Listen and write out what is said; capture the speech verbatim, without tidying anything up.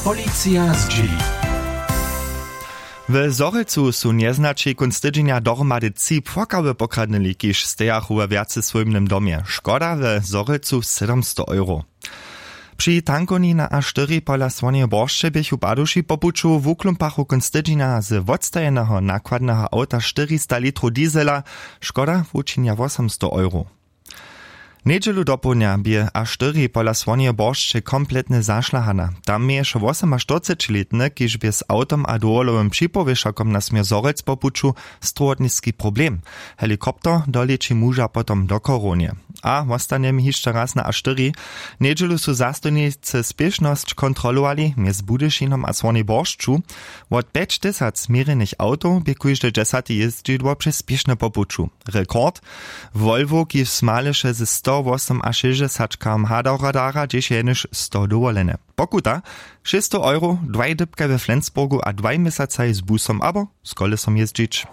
Policija zdźěli. W Zhorjelcu su njeznaći kónc tydźenja dohromady tři płakawy pokradnyli, kiž stejachu we wjacesłójbnym domje. Škoda w Zhorjelcu sedmsto euro. Při tankowni na a štyri pola Słoneje Boršće běchu paduši po puću wuklumpachu kónc tydźenja z wotstajeneho nakładneho awta štyrista litrow diesela. Škoda wučinja wosomsto euro. Njedźelu dopołdnja bě a štyri pola Słoneje Boršće kompletnje zašlahana. Tam měješe wosomaštyrcećilětny, kiž bě z awtom a dowolowym připowěšakom na směr Zhorjelc po puću, strowotniski problem. Helikopter dolěči muža potom do Chorownje. A wostanje mi hišće raz na a štyri. Njedźelu su zastojnicy spěšnosć kontrolowali mjez Budyšinom a Słonej Boršću. Wot pjećtysac měrjenych awtow bě kóžde dźesate jězdźidło přez spěšne po puću. Rekord: Volvo, kiž smaleše ze sto wosomašěsćdźesaćkam hadaradara, dźež je jenož sto dowolene. Pokuta: šěsćstow euro, dwaj dypkaj we Flensburgu a dwaj měsacaj z busom abo z kolesom jězdźić.